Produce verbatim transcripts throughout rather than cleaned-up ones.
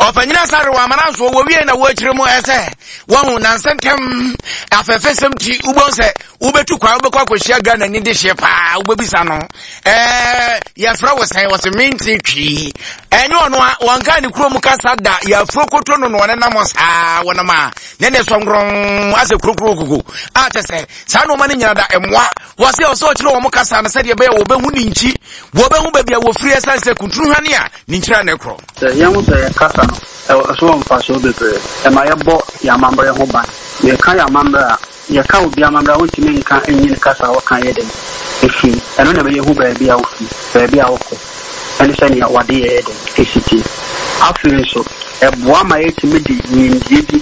Ɔpanyina Asare wɔ amana nso wɔwie na wɔakyerɛ mu ɛsɛ wɔhu nansɛntɛm afɛfɛsɛm ti wobɛhu sɛ wobɛtu kwan, wobɛkɔ akɔhyia Ghana ni de hyeɛ paa, wobɛbisa no ɛɛ yɛfrɛ wo sɛn? Wɔsɛ mente Twii. Ɛnyɛ ɔno a wɔnka ne kurom kasa da. Yɛafuro koto no no ɔne nam saa wɔnam a ne ne sɔnkorɔn asɛ kurokuro koko a kyɛ sɛ saa nneɛma no nyina da mmoa. Wɔsɛ ɔsɛ ɔkyerɛ wɔn kasa no sɛdeɛ ɛbɛyɛ wɔbɛhu ne nkyi, wɔbɛhu baabi a wɔfiri, ɛsiane sɛ kuntunu hwane a ne nkyira ne korɔ. Sɛ yɛhu sɛ yɛ kasa no ɛwɔ so wɔ mfasoɔ bebree. Ɛma yɛbɔ yɛn amammerɛ ho ban. Yɛka yɛn amammerɛ a, yɛka obi amammerɛ a, wontumi nka nyi ne kasa a wɔka yɛ dɛn ɛfiri. Ɛno na ɛbɛyɛ hu baabi a wofiri, baabi a wokɔ, ɛne sɛnea wade yɛyɛ dɛn ɛsi tie. Afei nso ɛboa ma yɛtumi de nimdeɛ bi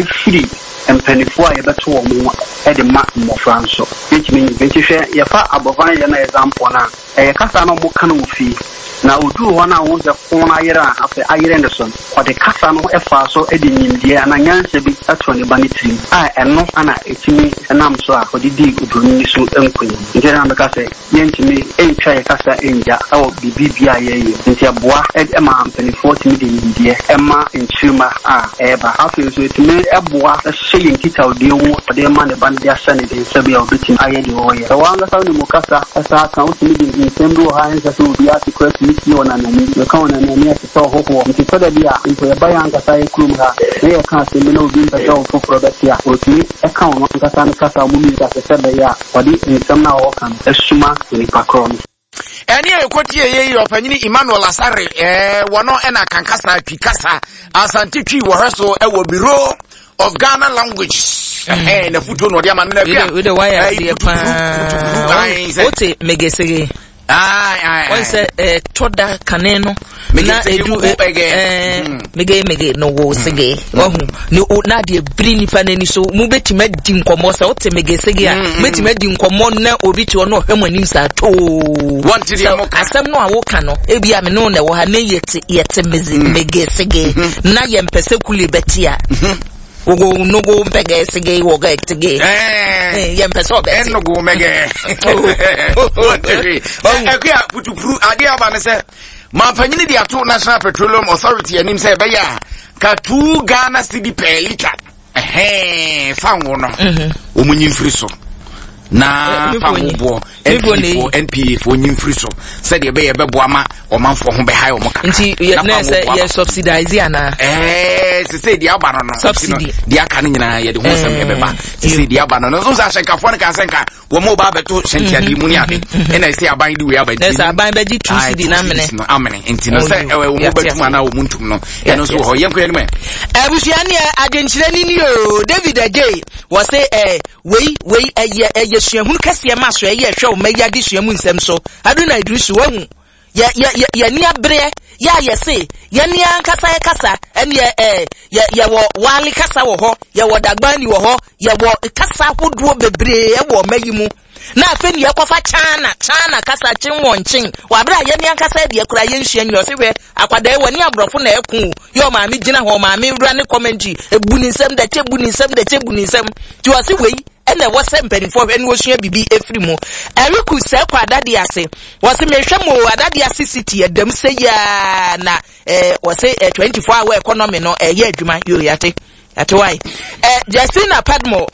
ɛfiri mpanimfoɔ a yɛbɛto wɔn ho ɛde ma mmɔfra nso. Yɛtumi nyi nti hwɛ, yɛfa abɔfra no yɛ no example no a, ɛyɛ kasa no ɔmo ka no wɔ fie na oduru hɔ no a, wɔn sɛ ko no ayerɛ a, afei ayerɛ ne so no, ɔde kasa no ɛfaa so de nimdeɛ anaa nyansa bi ɛto ne ba ne tirim a, ɛno ana ɛtumi nam so a ɔde dii oburoni no so nkonim. Nti na mɛka sɛ yɛntumi ntwa yɛ kasa ngya ɛwɔ biribi bia a yɛyɛ. Nti ɛboa ɛma mpanimfoɔ tumi de nimdeɛ ɛma nkyirima a ɛreba. Afei nso ɛtumi ɛboa ɛhyɛ yɛn nkitahodie ho, ɔde ma ne ba no de ahyɛ ne den sɛbi a obɛtumi ayɛ deɛ ɔreyɛ. Ɛwɔ ankasa ne mu kasa ɛsa aka, wotumi de nsɛm bi wɔ ha ɛnsɛ sɛ obi ate kora tumi sie wɔ nanani mɛka wɔ nanani ɛte sɛ ɔhohoɔ. Nti sɛdeɛ bi a mpo yɛba yɛn ankasa yɛ kurom ha na yɛka asɛm bi na obi mpɛ sɛ ɔfoforɔ bɛte a, ɔtumi ɛka ɔno ankasa no kasa a ɔmo mmienu ase sɛ bɛyɛ a ɔde nsɛm no a ɔwɔka no ɛsuma nipa korɔ no. Ɛne a ɛkɔtie yɛ yi, ɔpanyini Emmanuel Asare ɛɛ wɔno ɛna kankasa Twi kasa, Asante Twi wɔhwɛ so ɛwɔ Bureau of Ghana Language. Ɛhɛn na futuo na ɔde ama no na bia wede wayɛ adeɛ paa. Wote megesege wɔn sɛ ɛtɔ da kane no na edu ɛɛ mege mege no wo sege wahu ne o na adeɛ biri nipa n'ani so. Mo bɛtumi adi nkɔmɔ sɛ wote mege sege a, bɛtumi adi nkɔmɔ na obi te hɔ na ɔhwɛ mo anim saa too. Wɔnte deɛ mo ka. Asɛm no a woka no, ebi a me ne wo na ɛwɔ ha ne yɛte yɛte meze mege sege na yɛmpɛ sɛ kule bɛte a, wogo nogo mpɛgɛ sege wɔgɛ tege, yɛmpɛ sɛ ɔbɛte. Ɛnogo mɛgɛ ɛkua putupuru. Adeɛ aba ne sɛ mampanyini de ato National Petroleum Authority anim sɛ ɛbɛyɛ a ka two Ghana cedi per litre ɛhɛn fa ngo no wɔn nyi mfiri so na fa ngo boɔ N P A foɔ N P A foɔ nyi mfiri so sɛdeɛ ɛbɛyɛ ɛbɛboa ma ɔmanfoɔ ho bɛha wɔn kakra. Nti yɛ na sɛ yɛ subsidize ana? Ɛɛ sese deɛ aba no no Subsidy. Deɛ aka no nyinaa yɛde ho nsɛm ɛbɛba. Sese deɛ aba no no nso sɛ ahyɛnkafoɔ no ka sɛ nka wɔn mo ba abɛto hyɛntiadeɛ mu ne ade, ɛna ɛsɛ aban de wei aba. Nti sɛ aban bɛgye two cedi na amene. No amene. Nti no sɛ ɛwɔ wɔn bɛtum anaa wɔn ntum no, ɛno nso wɔ hɔ. Yɛn kɔ yɛn mu. Abusua ne adwenkyerɛ ni ni o. David Agye wɔse ɛ wei wei ɛyɛ ɛyɛ suahunu kɛseɛ ma so ɛyɛ ɛhwɛ ɔma yi adesua mu nsɛm so. Aduna Idrisu wahu yɛ yɛ yɛ yɛni abereɛ yɛ a yɛse yɛni ankasa yɛ kasa ɛneɛ ɛɛ yɛ yɛwɔ Waale kasa wɔ hɔ, yɛwɔ Dagbani wɔ hɔ, yɛwɔ kasa ahodoɔ bebree ɛwɔ ɔma yi mu, na afei ne yɛkɔfa China China kasa kyen wɔn kyen wɔ abere a yɛni ankasa deɛ kora yɛnsua nyina. Ɔse hwɛ akwadaa yi, wɔ ne aborɔfo na ɛko o. Yɛ ɔmaame gyina hɔ, ɔmaame wura ne commentary ebu ne nsɛm dɛkyɛ, bu ne nsɛm dɛkyɛ, bu ne nsɛm. Nti ɔse wei ɛna ɛwɔ sɛ mpanimfoɔ hwɛ ne wɔsua biribi efiri mu. Ɛreku sɛ kɔ Adade ase, wɔsi mehwɛ mo Adade ase city ɛdɛm sɛ yaa na ɛɛ wɔsi ɛ twenty four hour economy no ɛyɛ adwuma. Yoo, yate yate wae. Ɛ Justina Padmo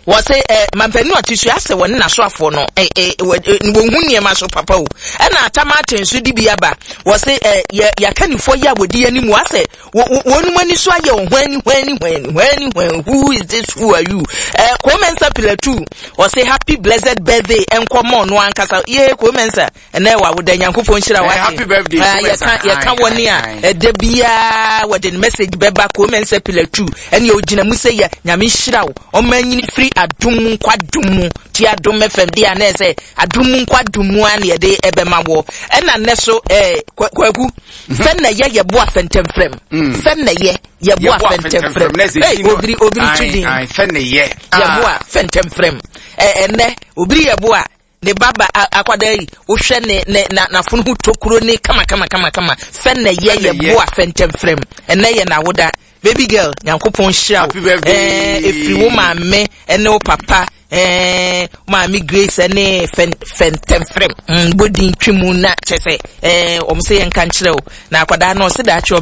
wɔsi ɛ mampanin ɔte so asɛ wɔne n'asoafoɔ no ɛ ɛ wɔn hu nneɛma so papa o. Ɛna atamate nso de bi aba, wɔsi ɛ yɛ yɛakanifoɔ yi a wɔdi anim asɛ wɔn mu ani so ayɛ wɔn hwani hwani hwani hwani hwani. Who is this? Who are you? Ɛ Komensa pillar two wɔsi happy blessed birthday ɛnkɔmɔ no ankasa yee Komensa ɛnɛ wɔ awoda, Nyankopɔn nhyira wa. Happy birthday. Yɛka yɛka wɔne a ɛda biara wɔde ne message bɛba. Komensa pillar two ɛne ogyina mu sɛ yɛ Nyame nhyira wo, ɔma nyini firi adom mu nkɔ adom mu. Ti Adom F M de a na ɛsɛ adom mu nkɔ adom mu a na yɛde ɛbɛma wɔ. Ɛna nnɛ so ɛɛ Kwaku, sɛ na yɛ yɛboa fɛntɛmfrɛm, sɛ na yɛ yɛboa fɛntɛmfrɛm, ɛy obiri obiri tu din. Fɛ ne yɛ. Yɛboa fɛntɛmfrɛm. Ɛ ɛnɛ obiri yɛboa ne ba ba akwadaa yi, wohwɛ ne ne na n'afono ho tokuro ne kama kama kama kama. Fɛ na yɛ yɛboa fɛntɛmfrɛm, ɛnɛ yɛ n'awoda. Baby girl, Nyankopɔn hyira wo. Ɛɛ efiri wo maame ɛne wo papa, ɛɛ maame Grace ɛne fɛn fɛntɛmfrɛm mm bodin twi mu na kyɛ sɛ ɛɛ wɔn sɛ yɛn nka nkyerɛ wo na akwadaa no ɔsɛ daakye ɔbɛ.